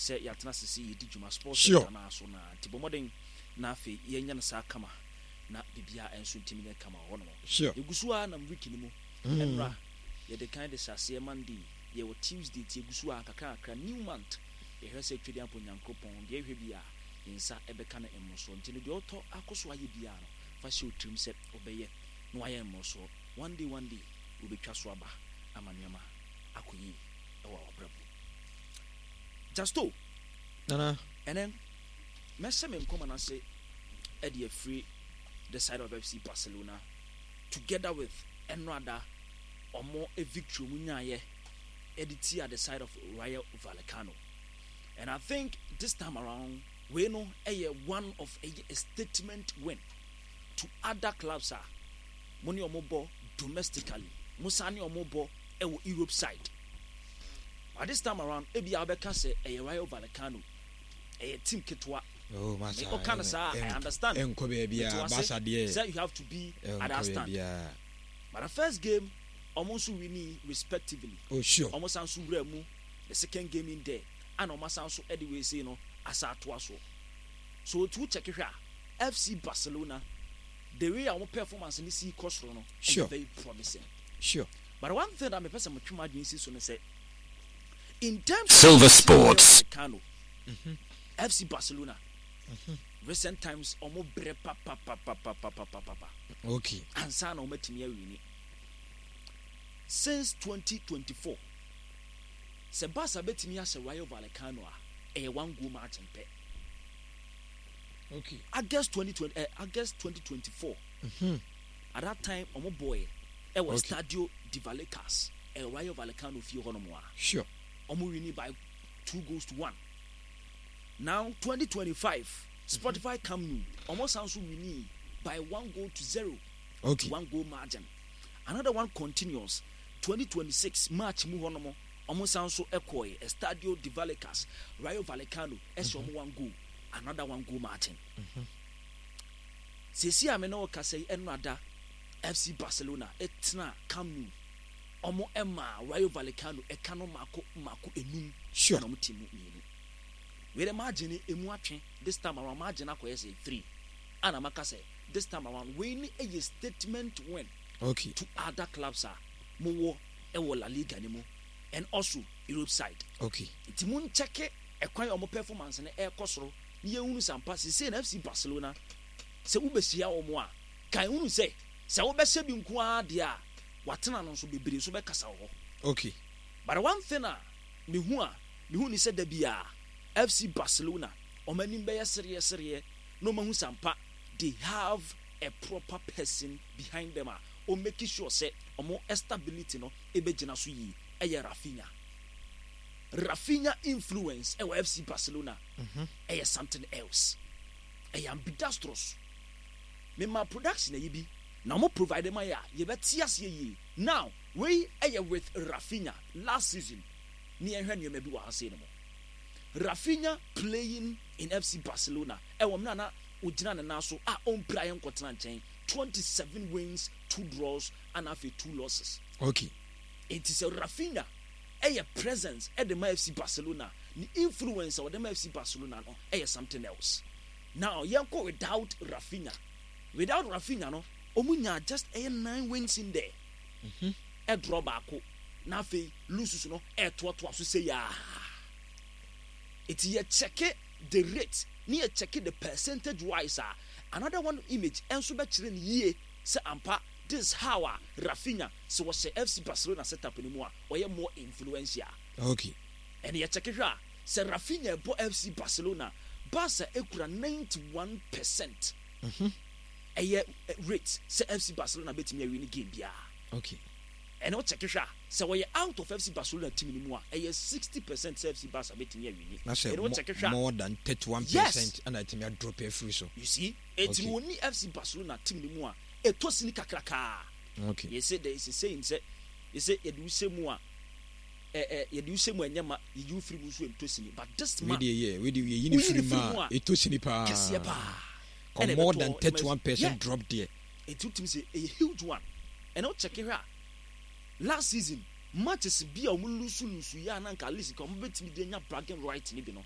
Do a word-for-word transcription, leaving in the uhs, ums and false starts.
Sɛ yɛatena sese yɛdi dwuma sports Sure. sector no so na nti bɔ mmɔden na afei yɛnyɛ no saa kama na biribiara ɛnso ntumi nyɛ kama wɔ hɔnom. Sure. Yɛgu so a nam week no mu. Mm. Ɛnora yɛde kan de hyɛ aseɛ Monday, yɛwɔ Tuesday, nti yɛgu so a kakra kakra new month. Yɛhwɛ sɛ Twɛdi Ampo Nyankopɔn deɛ ɛhwɛ bi a yɛn nsa ɛbɛka no mmorosoɔ, nti no deɛ ɔtɔ akɔ so ayɛ biara no, fa hyɛ wo tirim sɛ ɔbɛyɛ na wayɛ mmorosoɔ. One day, one day wobɛtwa so aba ama nneɛma akɔ yie ɛwɔ awabrabɔ. Justo. Nana. Ɛnɛ mɛhyɛ me nkɔmɔ n'ase ɛde afiri the side of F C Barcelona together with ɛnrada ɔmo victory ɔmo nyaayɛ ɛde tia the side of Rayo Vallecano. And I think this time around wei no ɛyɛ one of ɛyɛ a statement win to other clubs a mo ne ɔmo bɔ domestically, mo san ne ɔmo bɔ ɛwɔ Europe side. But this time around, ebi a wobɛka sɛ ɛyɛ Rayo Vallecano, ɛyɛ team ketewa. Oh, masa. Ɔka no saa, I understand. Ɛnkɔ baabi a Barca deɛ. Sɛ you have to be at that stand. But the first game, ɔmo nso winning respectively. Oh sure. Ɔmo san so wura mu the second game in there, ana ɔmo asan so ɛde wei sei no asa atoa so. So otu check hwɛ a, F C Barcelona, the way a ɔmo performance ne si kɔ soro no, Sure. ɛyɛ very promising. Sure. But one thing that mepɛ sɛ metwe mu adwene si so no sɛ, in terms Silver of Sports. Vallecano, F C Barcelona recent times ɔmo brɛ papapapapapapapa Okay. ansa na ɔmatumi awin. Since twenty twenty-four, sɛ Barca bɛtumi ahyɛ Rayo Vallecano a, ɛyɛ one goal margin pɛ. Okay. August twenty twenty, eh, August twenty twenty-four, Mhm. at that time ɔmo bɔɛ ɛwɔ Okay. Stadio de Vallecas, ɛwɔ Rayo Vallecano fie hɔ nom a Sure. ɔmo winning by two goals to one. Now twenty twenty-five, Spotify Camp Nou, ɔmo san so winning by one goal to zero. Okay. One goal margin. Another one continues, twenty twenty-six March mu hɔ nom, ɔmo san so ɛkɔɛ Estadio de Vallecas, Rayo Vallecano ɛhyɛ ɔmo one goal, another one goal margin. Sesi a me ne wo kasa yi, ɛno ada F C Barcelona ɛtena Camp Nou, ɔmo ɛma Rayo Vallecano ɛka no mako mako enum. Sure. Ɛna ɔmo ti mu mmienu. Wei dɛ margin no emu atwe. This time around margin akɔyɛ sɛ three, ana maka sɛ this time around wei ni ɛyɛ statement win Okay. to other clubs a mowɔ ɛwɔ La Liga ne mu and also Europe side. Okay. Nti mo nkyɛke ɛkwan a ɔmo performance no ɛrekɔ soro ne yɛhunu sampa sesei na F C Barcelona, sɛ wobɛhyia wɔn a, kan hunu sɛ sɛ wobɛhyɛ bi nko ara deɛ a, watena no nso bebree nso bɛkasa wɔ hɔ. Okay. But one thing a mehu a mehu ni sɛ da bi a F C Barcelona ɔmo anim bɛyɛ sereɛ sereɛ na ɔmo ahu sampa they have a proper person behind them a ɔmo make sure sɛ ɔmo stability no ɛbɛgyina so yie. Ɛyɛ Raphinha. Raphinha influence ɛwɔ F C Barcelona ɛyɛ something else, ɛyɛ ambidextrous. Mema production ayi bi na ɔmo provide ma yɛ a yɛbɛte aseɛ yie. Now wei ɛyɛ with Raphinha last season ne yɛhwɛ nneɛma bi wɔ ha sei no mu. Raphinha playing in F C Barcelona, ɛwɔ mmerɛ na ogyina ne nan so a ɔmpira yɛn nkɔtena nkyɛn, twenty-seven wins, two draws ana afei two losses. Okay. Nti sɛ Raphinha ɛyɛ presence ɛde ma F C Barcelona, ne influence a ɔde ma F C Barcelona no ɛyɛ something else. Now yɛnkɔ without Raphinha. Without Raphinha no, ɔmo nya just ɛyɛ nine wins in there, ɛdraw baako na afei loses no ɛɛtoatoa so sɛ yaa. Eti yɛ check the rate ne yɛ check the percentage wise a, another one image ɛnso bɛkyerɛ ne yie sɛ ampa, this is how a Raphinha, sɛ wɔhyɛ F C Barcelona setup no mu a, ɔyɛ more influential. Okay. Ɛne yɛ check hwɛ a, sɛ Raphinha ɛbɔ F C Barcelona, Barca ekura ninety one percent ɛyɛ eh, rate sɛ F C Barcelona bɛtumi awi ne game biara. Okay. Ɛne wo check hwɛ a, sɛ wɔyɛ out of F C Barcelona team no mu a, ɛyɛ sixty percent sɛ F C Barca bɛtumi awin. Na sɛ Ɛne wo check hwɛ a, more than thirty-one Yes. percent ɛna ɛtumi adrop afiri so. You see, eti Okay. no wɔni F C Barcelona team no mu a, ɛtɔ sini kakrakaa. Okay. Yɛsɛ there is a saying sɛ yɛsɛ yɛde wo hyɛ mu a, ɛ ɛ yɛde wo hyɛ mu a ɛnyɛ ma yɛyi wo firi mu nso ɛntɔ sini, but this man Wei deɛ yɛ wei deɛ yɛyi ne Woyi firi ne mu firi mu a a, ɛtɔ sini paa. Kɛseɛ paa. Kɔ Ɛna more ɛbɛtɔ than thirty-one yeah. percent drop deɛ. Eti wotumi sɛ ɛyɛ huge one. Ɛna wo check hwɛ a, last season matches bi a wɔn lose lose yɛ a, na nka at least nka wɔn bɛtumi de anya bragging right ne bi no.